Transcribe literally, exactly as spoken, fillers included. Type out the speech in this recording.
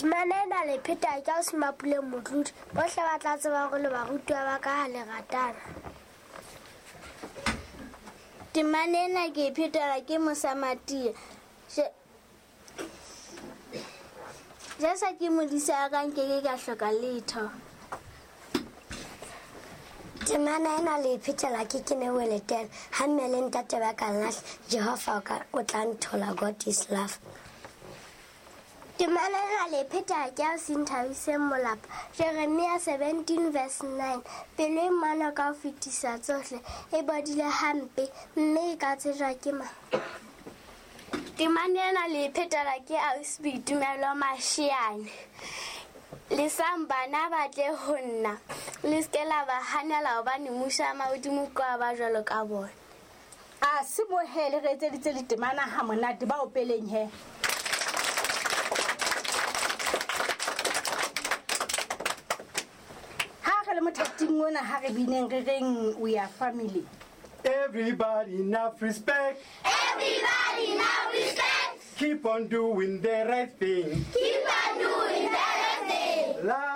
Temana ena le pheta ke o Semapule Motlodi. Bohle ba tla tseba hore le barutwa ba ka ha le ratana. Temana ena ke e phetela ke Mosamatia. Jesu ke modisa wa ka, nkeke ka hloka letho. Temana ena le phetela ke Kenewe Letele. Ha mme le ntate ba ka nlahla, Jehova o tla nthola. God is love. Temana ena le pheta ke a Sinthabiseng Molapa. Jeremia seventeen verse nine. Pelo e mano ka ho fetisa tsohle e bodile hampe, mme e ka tsejwa ke mang? Temana ena le phetela ke Ausi Boitumelo Mashiane. Lesang bana ba tle ho nna, le se ke la ba hanela hobane mmuso wa mahodimo ke wa ba jwalo ka bona. A se bohele re etseditse ditemana ha monate ba opeleng he. Ha re le mothating ona ha re bineng re reng we are family. Everybody enough respect. Everybody enough respect. Keep on doing the right thing. Keep on doing the right thing. Love.